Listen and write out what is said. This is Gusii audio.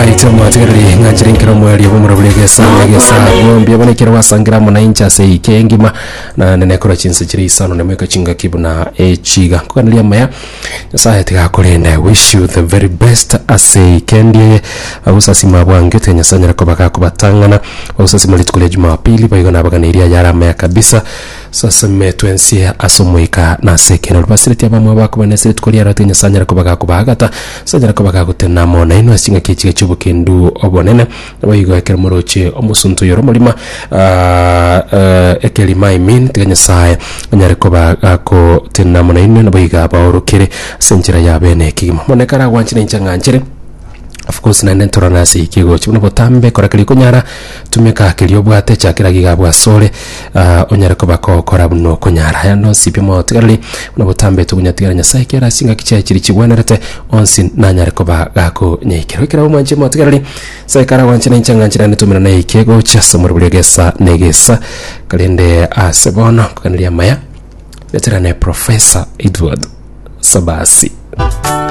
Alright, omwatigereri ng'anchire nkero omwerio bw'omorobori egesa egesa bwombia bono ekero gwasangira amo nainche ase eike engima na nene korwa chinse chire isano na mweka chingaki buna echiga nkoganeria amaya Nyasaye tiga akorende I wish you the very best ase eike endi eye agosasima bwange tiga Nyasaye anyare koba gakobatang'ana bagosasima rituko ria Jumapili boigo nabaganeirie ayare amaya kabisa Saseme twensi ase Omoika na ase ekeene. Rubasireti abamwabo bakobana ase rituko riaro tiga Nyasae anyare koba gakobaagata, ase anyare koba gagotenena amo nainwe ase chingaki echiga chi'obokendu obonene. Naboigo ekero moroche omosunte oyore omorima, ekerima I mean, tiga Nyasae anyare koba gagotenena amo nainwe, naboigo abaorokere ase enchera ya bene kegima. Bono ekero agwanchire inche ng'anchere. Of course naende ntorore ase eki egochi buna botambe kora keria okonyara tumeka keria obwate chakera iga abwo asore ah, onyare koba kogokora buna okonyara aya nonsi pi motigareri buna botambe togonyatigara nyasaye kera ase chingaki chiaye chiria chigwenerete onsi nanyare koba gakonyaikera ekero omwanche motigareri nyasaye karagwanche nainche ng'anche naende tomerane eki egochi ase omorobori egesa na egesa korende ase bono nkoganeria amaya reterane professor Edward Sabasi.